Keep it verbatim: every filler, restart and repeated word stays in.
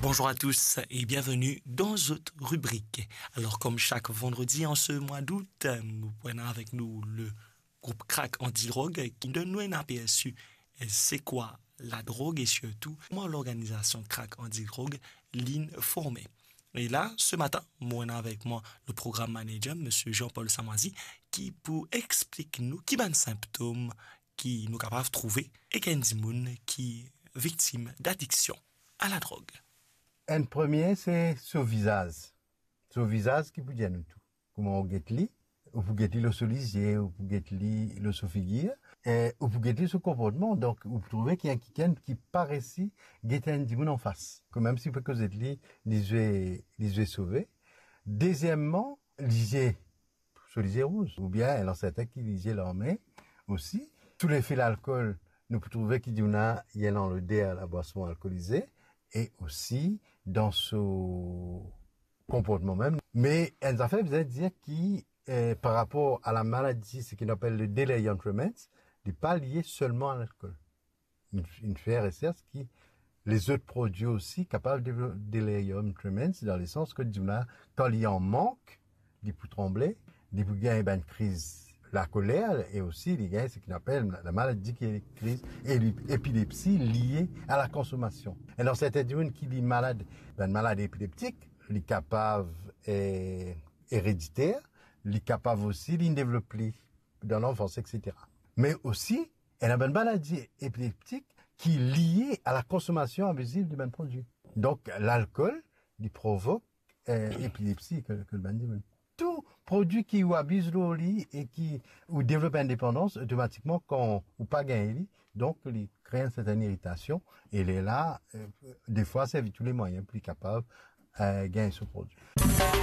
Bonjour à tous et bienvenue dans notre rubrique. Alors, comme chaque vendredi en ce mois d'août, nou pou ena avek nou le group Crack Anti Drog ki donn nou enn apersi, eh, se kwa ladrog e sirtou kouma lorganizasion Crack Anti Drog linn forme. E la, se matin, mo ena avek mwa le program manager, Misie Jean-Paul Samoizi, ki pou explik nou ki bann sinptom ki nou kapav trouve ek enn dimoun ki viktim d'adiksion a ladrog. Enn premie, se so vizaz. So vizaz ki pou dir nou tou. Kouma ou get li, ou pou get li lor so lizie, ou pou get li lor so figir, e ou pou get li so konportman. Donk, ou pou trouve ki ena kikenn ki pa resi get enn dimoun anfas. Kan mem si ou pe koz ek li, li zwe, li zwe sove. Dezieman, lizie, so lizie rouz, oubien ena sertin ki lizie larme osi. Sou lefe lalkol, nou pou trouve ki dimoun la, li ena loder labwason alkolize, e osi dan so konportman mem. Me enn zafer bizin dir ki, eh, par rapor a lamaladi, seki nou apel le delirium tremens, li pa lie selman a lalkol. Inn, inn fer resers ki lezot prodwi osi kapav devlop delirium tremens, dan lesans ki dimoun la, kan li an mank, li pou tranble, li pou gagn bann kriz lakoler, e osi li gagn seki nou apel lamaladi ki kriz e li, epilepsi lie a lakonsomasion. E dan sertin dimoun ki li malad, bann maladi epileptik, li kapav, eh, erediter, li kapav osi, li devlop li dan lanfans, et cetera. Me osi, ena bann maladi epileptik ki lie a lakonsomasion abiziv de bann prodwi. Donk, lalkol, li provok, eh, epilepsi, ke, ke bann dimoun. Tou prodwi ki ou abiz lor li e ki ou devlop enn depandans, otomatikman, kan ou pa gagn li, donk, li kre enn sertin iritasion, e lerla, eh, defwa, servi tou le mwayin pou li kapav, eh, gagn so prodwi.